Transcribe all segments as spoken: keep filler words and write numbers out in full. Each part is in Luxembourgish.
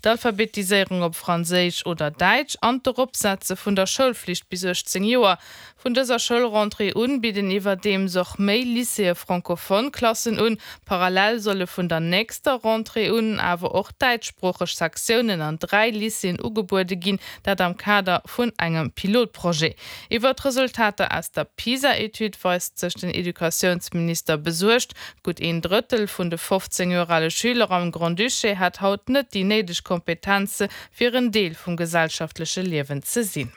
D'Alphabetiséierung op Franséisch oder Däitsch an d'Eropsetze vun der Schoulflicht bis uechtzéng Joer. Vun dëser Schoulrentrée un bidden iwwerdeems och méi Lycéeë francophone Klassen un. Parallel solle vun der nächster Rentrée un awer och däitschsproocheg Sektiounen an dräi Lycéeën ugebuede ginn, dat am Kader vun engem Pilotprojet. Iwwer d'Resultater aus der PISA-Etüd weist sech den Educatiounsminister besuergt. Gutt een Drëttel vun de fofzéng Joer ale Schüler am Grand-Duché hätt haut net déi néideg Kompetenze fir en Deel vum gesellschaftleche Liewen ze sinn.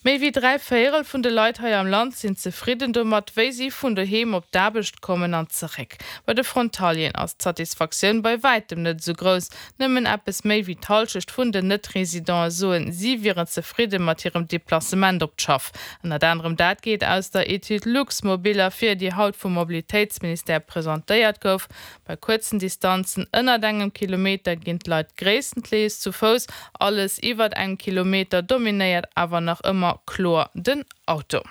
Méi wéi dräi Véierel vun de Leit hei am Land sinn zefridden domat, wéi si vun doheem op d'Aarbecht kommen an zeréck. Bei de Frontalieren ass d'Satisfaktioun bei wäitem net esou grouss. Nëmmen eppes méi wéi d'Hallschecht vun den Net-Residenten soen, si wieren zefridde mat hirem Deplacement op d'Schaff. Ënnert anerem dat geet aus der Etüd Luxmobil ervir, déi haut vum Mobilitéitsministère presentéiert gouf. Bei kuerzen Distanzen ënnert engem Kilometer ginn d'Leit gréisstendeels zu Fouss, alles iwwert engem Kilometer dominéiert awer nach ëmmer kloer den Auto.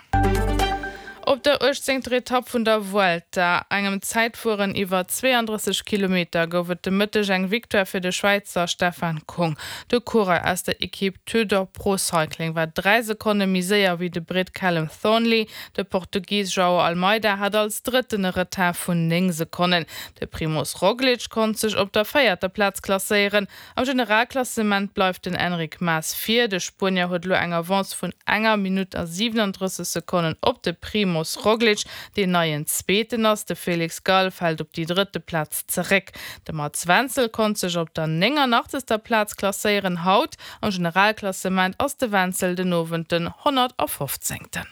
Op der uechtzéngter Etapp vun der Vuelta, engem Zäitfueren iwwer zweeandrësseg Kilometer, gouf et de Mëtteg eng Victoire fir de Schwäizer Stefan Kung. De Coureur aus der Ekipp Tudor Pro Cycling war dräi Sekonne méi séier wéi de Britt Callum Thornley. De Portugis Joao Almeida hat als Drëtten e Retard vun néng Sekonnen. De Primoz Roglic konnt sech op der véierter Plaz klasséieren. Am Generalklassement bleift den Enric Mas vir. De Spuenier huet elo eng Avance vun enger Minutt a siwelandrësseg Sekonnen op de Primoz Roglic, deen neien Zweeten ass. De Felix Gall fält op déi drëtte Plaz zeréck. De Mats Wenzel konnt sech op der nénganachtzeger Plaz klasséieren. Haut am Generalklassement ass de Wenzel den Owend den honnertafofzéngten.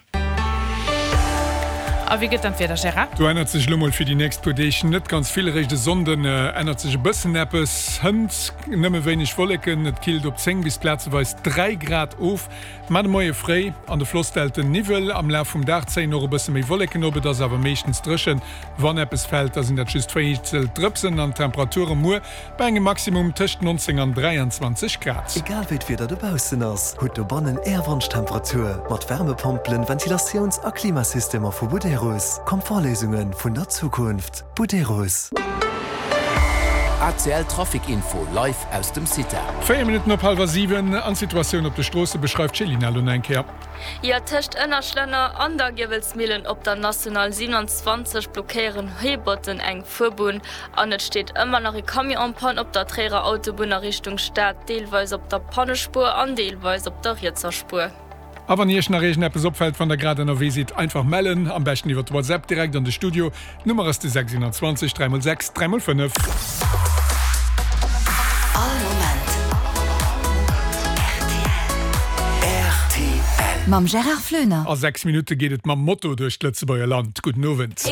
A wéi gëtt dann d'Wieder, Gérard? Do ännert sech elo mol fir déi nächst puer Deeg net ganz vill. Eréischt e Sonnden ännert sech e bëssen eppes. Hënt nëmme wéineg Wolleken, et killt op zéng bis plazeweis dräi Grad of. Mar de Moie fréi an de Flossdelten Niwwel, am Laf vum Dag zéien och e bësse méi Wolleken op, et ass awer meeschtens dréchen. Wann eppes fält, da sinn dat just vereenzelt Drëpsen an d'Temperature muer bei engem Maximum tëscht neunzéng an dräianzwanzeg Grad. Egal wéi d'Wieder dobaussen ass, hutt dobannen Är Wonschtemperatur mat Wärmepompelen, Ventilatiouns a Klimasystemer vu Buderus. Komfortléisunge vun der Zukunft. Buderus. A C L Trafic Info live aus dem CITA. Véier Minutten op hallwer siwen an d'Situatioun op de Stroosse beschreift d'Céline elo nach eng Kéier. Jo, tëscht Ënnerschlënner an der Giewelsmillen op der National siewenundzwanzeg blockéieren Heebotten eng Fuerbunn an et steet ëmmer nach e Camion en panne op der Tréierer Autobunn a Richtung Stad, deelweis op der Pannespuer an deelweis op der rietser Spuer. A wann Iech nach iergendeppes opfält, wann der grad ënnerwee sidd, einfach mellen, am beschten iwwert WhatsApp direkt an de Studio. D'Nummer ass de sechs siewenundzwanzeg dräi mol sechs dräi mol fënnef. All Moment R T L. Mam Gérard Floener. A sechs Minutte geet et mam Moto duerch d'Lëtzebuerger Land. Gudden Owend.